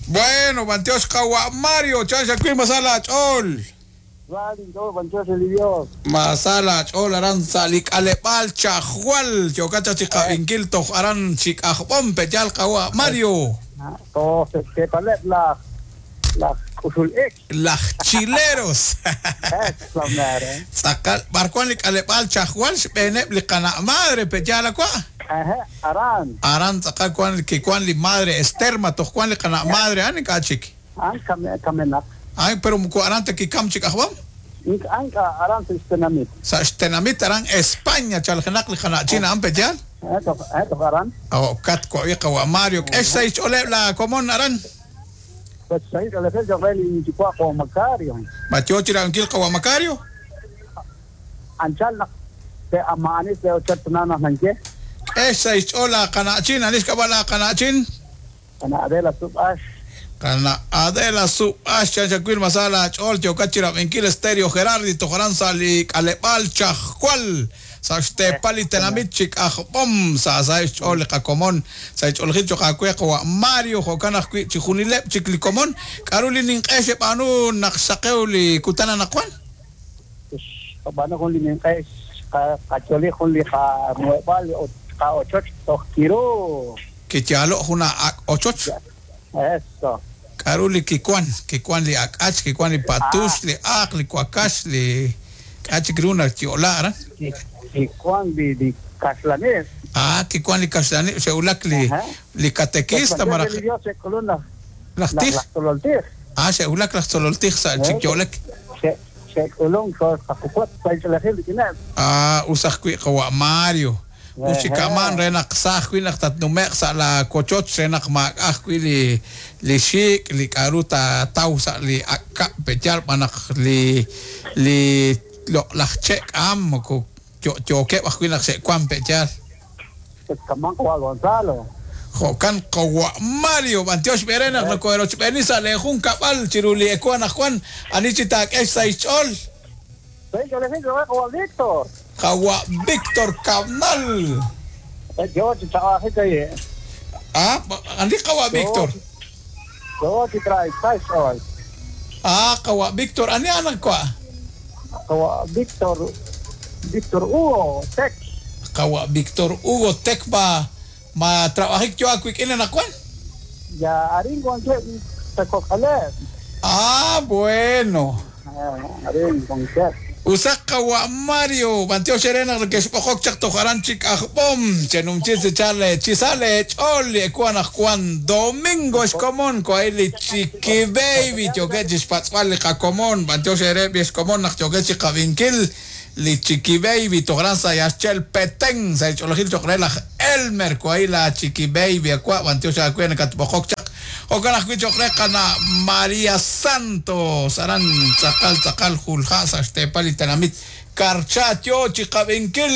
Bueno, b'antiox qawa' Mario, chan xawil ma sa laach'ool. Sa linch'ool, b'antiox re li Dios. Ma sa laach'ool aran sa' li k'aleb'aal Chajwal, yookat chaq chi qab'inkil toj aran chi K'ajb'om, pe'yaal qawa' Mario. Toj sa' xteepaleb' laj laj k'uxul ik. Laj chileros. Eso mero. Tz'aqal, b'ar wan li k'aleb'aal Chajwal xb'eeneb' li qana' madre, pe'yaal awa'? Ehe, aran. Aran tz'aqal wan kiwan li madre Ester, ma toj wan li qana' madre a'an ink'a' chik. A'an kamenaq. Ay, pero moko aran ta kikam chi K'ajb'om. Ink'a' ink'a' aran sa' xtenamit. Sa' xtenamit aran España chaljenaq li qana'chin a'an pe'yaal? Ehe, toj ehe, toj aran. Jo'kat wa'wi qawa' Mario, k'e xsahil xch'ooleb' la komon aran. Sa' xsahil ch'oolejil cho'q re linyuwa' qawa' Macario. Ma yo chi rab'inkil qawa' Macario? Anchal naq te'amaani sa' ochoch tana naq nanye. K'e xsahil xch'ool laaqana'chin, ani xk'ab'a' laaqana'chin? Qana' Adela Sub'ax. Qana' Adela Sub'ax, chan xawil ma sa laach'ool yookat chi rab'inkil Stereo Gerardi toj aran sa' li k'aleb'aal Chajwal sa' xteepal li tenamit chi K'ajb'om sa' saheb' xch'ool li qakomon sa' xch'oolejil cho'q aawe qawa' Mario jo'kan ajwi' chijunileb' chik li komon. K'aru li ninq'e xeb'aanu naq xsaqew li kutan anaqwan? Xqab'aanu jun li ninq'e xqacholi jun li qamuheb'aal ut qa'ochoch toj kiru. Kiyaalo' jun ak' ochoch. Eso. K'aru li kiwan? Kiwan li ak'ach, kiwan li patux, li aaq, li wakax, li k'a' chik ru nayo'la aran. Kiwan li kaxlanib'. Ah, kiwan li kaxlanib', xe'wulak li li katekista malaj. Li Dios xe'k'ulun laj laj tij. Laj tzolol tij. Ah, xe'wulak laj tzolol tij sa' chik yo'lek. Xe'k'ulunk xooxqaquwat sa' xch'oolejil rik'ineb'. Ah, us ajwi' qawa' Mario. Us chi ka'man re naq sa ajwi' naq tatnume'q sa' laawochoch re naq maak'a' ajwi' li li xik', li k'a'ru taataw sa' li ak' kab' pe'yaal b'an naq li li loq'laj che' k'aam moko yo'yookeb' ajwi' naq xe'wan pe'yaal. Kaman qawa' Gonzalo. Jo'kan qawa' Mario, b'antiox b'e re naq nokoherochb'eeni sa' lee junkab'al chiru li ewu anaqwan, ani chi taak'e xsahil xch'ool. Sahil ch'oolejil cho'q re qawa' Víctor. Qawa' Víctor Cabnal. Yo chi chaq'ajik ayi'. Ah, ani qawa' Víctor? Yo chi trae sahil xch'ool. Ah, qawa' Víctor, ani a'an wa'? Qawa' Víctor Víctor Hugo Tec. Qawa' Víctor Hugo Tec ma ma trabajik yo aawik'in anaqwan? Ya arin wankeb' sa' kok'aleb'. Ah, bueno. Arin wankeb'. Usaq qawa' Mario, b'antiox eere naq nekexb'oqok chaq toj aran chi K'ajb'om, chenumchi chi sa' leech'ool li ewu anaqwan domingo xkomon ko'ay li Chiqui Baby yookeb' chi xpatz'b'al li qakomon, b'antiox eere b'ex komon naq yookeb' chi qab'inkil li Chiqui Baby toj aran sa' Yaxchel Petén sa' xch'oolejil cho'q re laj Elmer ko'ay la Chiqui Baby awa' b'antiox aawe nakatb'oqok chaq. Jo'kan ajwi' cho'q re qana' Maria Santos aran tz'aqal tz'aqal julja' sa' xteepal li tenamit Karcha yo chi qab'inkil.